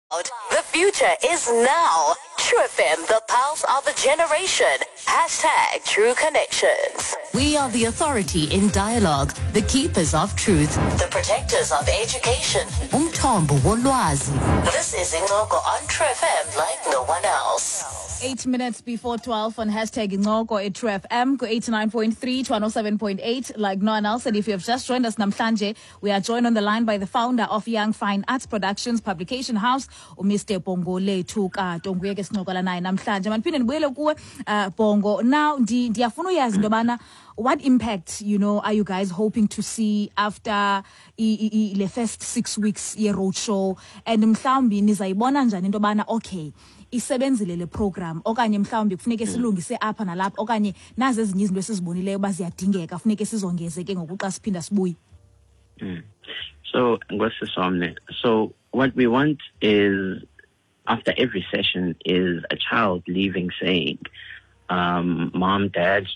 The future is now. True FM, the pulse of a generation. #TrueConnections. We are the authority in dialogue, the keepers of truth, the protectors of education. Umthombo wolwazi. This is Incoko on True FM like no one else. 8 minutes before 12 on #Incoko at True FM, go 89.3 to 107.8 like no one else. And if you have just joined us namhlanje, we are joined on the line by the founder of Young Fine Arts Productions Publication House, uMr Bhongolethu Kato. Nguye ke sincokola naye namhlanje. Mandiphinde ndibuyele kuwe, Bhongo. Now ndiyafuna uyazi into yobana what impact are you guys hoping to see after le first 6 weeks ye roadshow, and mhlawumbi nizayibona njani into yobana okay, isebenzile le program, okanye mhlawumbi kufuneke silungise apha nalapha, okanye nazi ezinye izinto esizibonileyo uba ziyadingeka, funeke sizongeze ke ngoku xa siphinda sibuye? So, Ngosisomne, so what we want is, after every session, is a child leaving saying, "Mom, Dad,